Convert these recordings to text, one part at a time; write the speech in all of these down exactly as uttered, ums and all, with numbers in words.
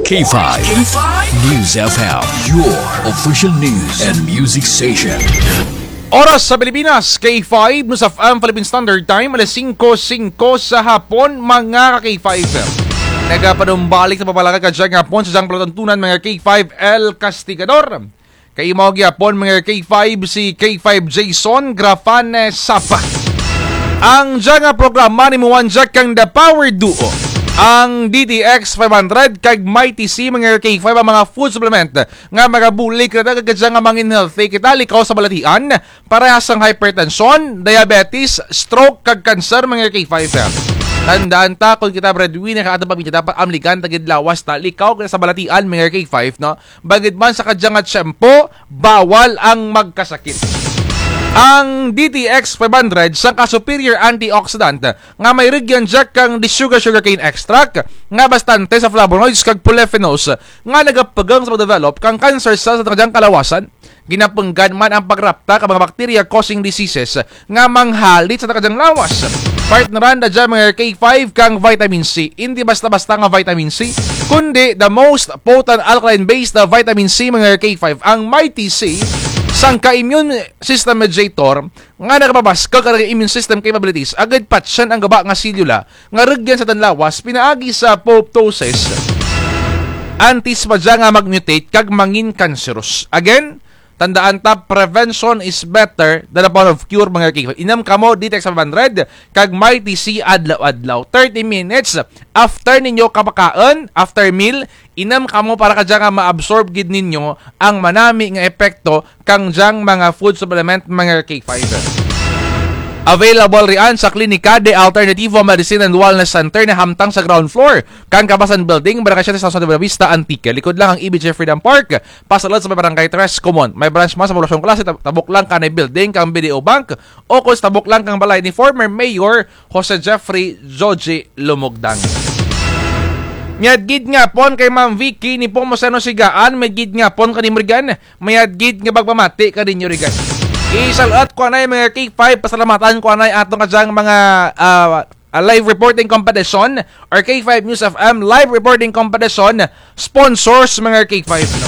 K five News F M, your official news and music station. Oras sa Pilipinas, K five News F M Philippine Standard Time, alas singko singko sa hapon, mga ka-K five. Nagapanumbalik sa pagpalakad kadyang hapon sa dyang palatuntunan, mga K five, El Castigador. Kay imo gihapon, mga K five, si K five Jason Grafane Sapa. Ang dya nga programa ni Muwanjak kang The Power Duo, ang D T X five hundred kag Mighty C, mga K five, ang mga food supplement nga magabulig kanatun kag kadya nga mangin healthy kita, likaw sa balatian, parehas ang hypertension, diabetes, stroke, kag cancer, mga K five. Tandaan ta, kon kita breadwinner ka atun pamilya, dapat amligan ta gid lawas ta, likaw kita sa balatian, mga K five, no? Bangud man sa kadya nga tiyempo, bawal ang magkasakit. Ang D T X five hundred, sangka superior antioxidant nga may rugyan dya kang desugar sugarcane extract nga bastante sa flavonoids kag polyphenols nga nagapugong sa pag-develop kang cancer cells sa kadyang kalawasan. Ginapunggan man ang pagrapta kang mga bacteria causing diseases nga manghalit sa kadyang lawas. Partneran da dya, mga K five, kang vitamin C. Indi basta-basta nga vitamin C, kundi the most potent alkaline-based na vitamin C, mga K five. Ang Mighty C, sangka immune system mediator nga nagapabaskug kang immune system capabilities, agud patyan ang gaba nga selula nga rugyan sa atun lawas pinaagi sa apoptosis, antes pa dya nga mag-mutate kag mangin cancerous. Again, tandaan ta, prevention is better than upon of cure, mga K five. Inum kamo D T X five hundred kag Mighty C adlaw-adlaw. Thirty minutes after ninyo kapakaun, after meal, inum kamo para kadya nga ma-absorb gid ninyo ang manami nga epekto kang dyang mga food supplement, mga K five. Available rian sa Klinika de Alternativo Medicine and Wellness Center na hamtang sa ground floor kang Kabasan Building, Barangay Siete, San Jose de Buenavista, Antique. Likod lang kang E B J Freedom Park, pasulud sa may Barangay Tres Comon. May branch man sa Poblacion Clase, tab-, tabok lang kanay building kang B D O Bank, o kon sa tabok lang kang balay ni former Mayor Jose Jeffrey Joji Lumugdang. Mayad gid nga hapon kay Ma'am Vicky Nepomuceno Sigaan, mayad gid nga hapon kanimo rigan, mayad gid nga pagpamati kaninyo rigan. Isal-ut ko anay, mga K five, pasalamatan ko anay atun kadyang mga, ah, ah, live reporting competition or K five News F M live reporting competition sponsors, mga K five, no?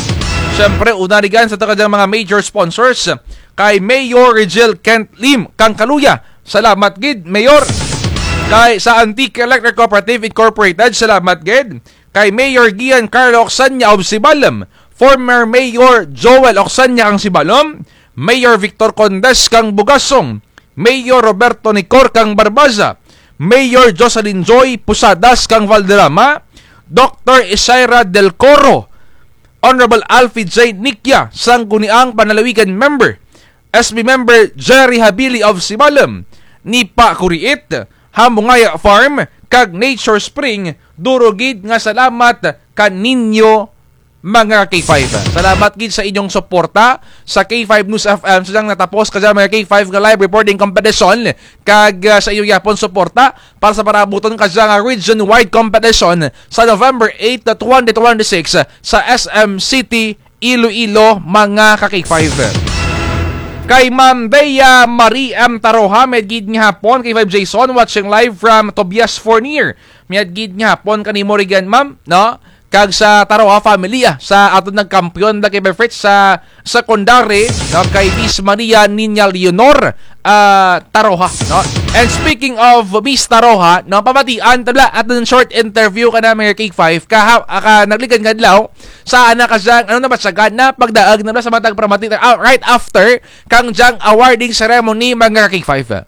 Siyempre, una rigan sa atun kadyang mga major sponsors, kay Mayor Rigel Kent Lim kang Caluya. Salamat gid, Mayor. Kay sa Antique Electric Cooperative Incorporated, salamat gid. Kay Mayor Gian Carlo Ocsania of Sibalom, former Mayor Joel Ocsania kang Sibalom, Mayor Victor Condes kang Bugasong, Mayor Roberto Nicor kang Barbaza, Mayor Jocelyn Joy Posadas kang Valderrama, Doktor Isaira Del Coro, Honorable Alfie J Nikia, Sangguniang Panlalawigan member, S B member Jerry Habili of Sibalom, Nipa Kuriit, Hamungaya Farm, kag Nature Spring, duro gid nga salamat kaninyo, mga K five. Salamat gid sa inyong suporta sa K five News F M. Sa dyang natapos kadya, mga K five, nga live reporting competition, kag, ah, sa inyo gihapon suporta para sa parabuton kadya nga region-wide competition sa November eight, twenty twenty-six sa S M City, Iloilo, mga ka-K five. Kay Ma'am Bea Marie M Taroja, mayad gid nga hapon, K five Jason, watching live from Tobias Fornier. Mayad gid nga hapon kanimo rigan, ma'am, no? Kag sa Taroja family, ah, sa atun nagkampiyon da kay Fritz sa secondary, no, kay Miss Maria Niña Leonor, ah, Taroja, no? And speaking of Miss Taroja, no, pamatian ta bala atun short interview kana, mga K five, kaha-, ah, ka nagligad nga adlaw, sa ana kadyang, ano na ba siya, gana, pagdaug na ba sa matag pramati, ah, right after kang dyang awarding ceremony, mga K five.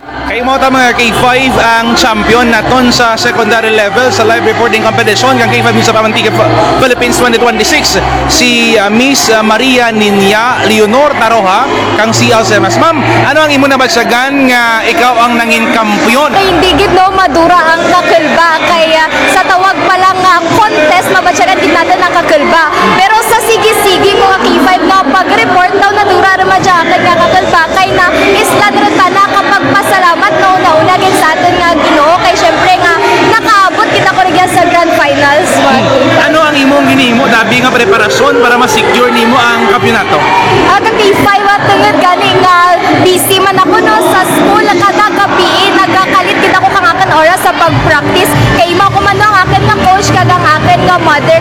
Kay mao ta, mga K five, ang champion natun sa secondary level sa live reporting competition kang K five News F M Antique Ph-, Philippines twenty twenty-six, si, ah, Miss, ah, Maria Niña Leonor Taroja kang C L C M S. Ma'am, ano ang imo nabatyagan nga ikaw ang nangin kampiyon? Ay, hindi gid, no, madura ang Kakulba kay, ah, sa tawag pa lang nga contest, mabatyagan gid natun ang Kakulba. Pero sa sige-sige, mga K five, nga pag-report daw, nadura run man dya akun nga Kakulba kay naislan run tana ka pagpasalamat, no, una-una gid sa atun nga Ginoo kay syempre nga nakaabot gid ako rugya sa grand finals. Hmm. Ano ang imong ginhimo, abi nga preparasyon para ma-secure nimo ang kampiyonato? Ah, ka K five, ah, tungod gani nga busy man ako, no, sa school, kada gabii nagakalit gid ako kang akun oras sa pag-practice. Kay imo ko man, no, ang akun nga coach kag ang akun nga mother